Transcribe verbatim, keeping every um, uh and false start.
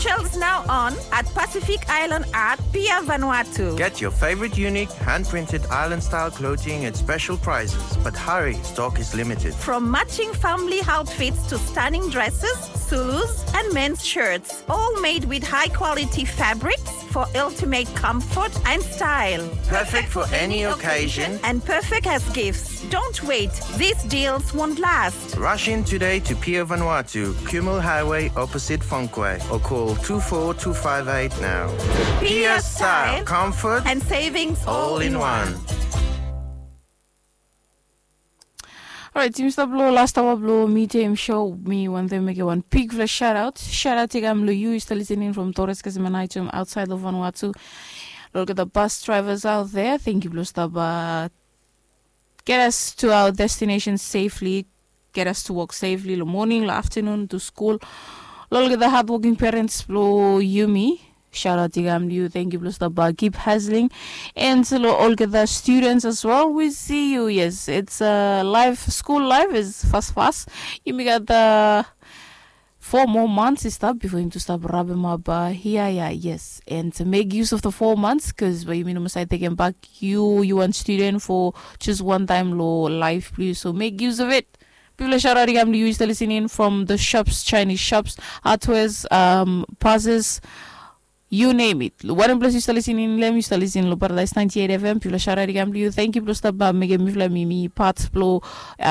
Shelves now on at Pacific Island Art, Pier Vanuatu. Get your favorite unique hand-printed island-style clothing at special prices, but hurry, stock is limited. From matching family outfits to stunning dresses, Zulus, and men's shirts, all made with high-quality fabrics for ultimate comfort and style. Perfect for any occasion and perfect as gifts. Don't wait, these deals won't last. Rush in today to Pier Vanuatu, Kumul Highway, opposite Fongkway, or call two four two five eight now. Pier style, comfort, and savings all in one. Alright, yumi stap long last hour blong Media Show. Mi wantem mekem wan bigfala shout out. Shout out i kam long yu, yu stap listening from Torres Casimanaicum outside of Vanuatu. Lo olgeta bus drivers out there, thank you blong stap uh, get us to our destination safely, get us to work safely, long morning, long afternoon, to school. Lo olgeta hardworking parents blong yumi, shout out i kam long yu, thank you blong stap uh, keep hustling. And lo olgeta students as well, we see you. Yes, it's uh, life, school life is fast fast. Yumi gat uh, four more months i stap before yumi tu stap wrap him up uh, here, yeah, yes. And make use of the four months, because by yumi no must taken back you, you one student for just one time lo life, please. So make use of it. People are shout out, you start listening from the shops, Chinese shops, hardwares, um, passes, you name it. One place you start listening, let me start listening lo Paradise ninety-eight F M. People are shout out, you thank you blong stap uh, mekem mifala mi mi part blong uh,